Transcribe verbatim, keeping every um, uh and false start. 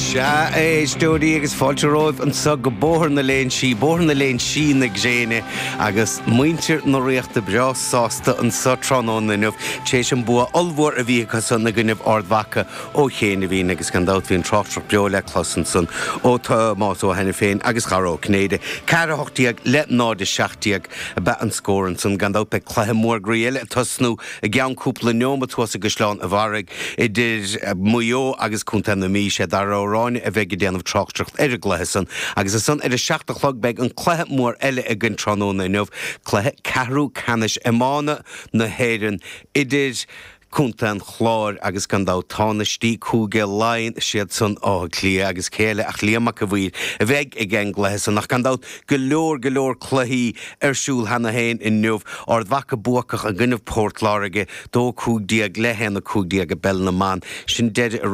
Sea, a éisteoirí agus fáilte romhaibh anseo go Bóthar na Léinsí, Bóthar na Léinsí na gréine agus muintir na Ríochta breá sásta anseo tráthnóna inniu tar éis an bua ollmhór a bhí acusan i gcoinnibh Ard Mhacha ó chianaibhín agus gan dabht bhí an tráchtaireacht beo le clos ansan ó Thomás Ó hAiniféin agus Dara Ó Cinnéide. Ceathair a hocht déag le náid a seacht déag ab ea an scór ansan. Gan dabht beidh cluiche mór groí eile ag tosnú i gceann cúpla neomat thuas i gCaisleán a' Bharraigh idir Maigh Eo agus Contae na Mí. Sé Dara Ó Ráinne a bheidh ag déanamh tráchtaireacht ar an gcluiche san agus ansan ar a seacht a chlog beidh an cluiche mór eile againn tráthnóna inniu, cluiche ceathrú ceannais iomána na hÉireann idir Contae an Chláir agus gan dabht tánaistí Cúige Laighean, siad san Áth Cliath agus cé eile ach Liam Mac a' Mhaoir a bheidh ag an gcluiche san ach gan dabht go leor go leor cluichí ar siúl cheana féin inniu. Ard Mhacha buacach i gcoinnibh Port Láirge, dó cúig déag le haon a cúig déag i bpeil na mban. Sin deireadh a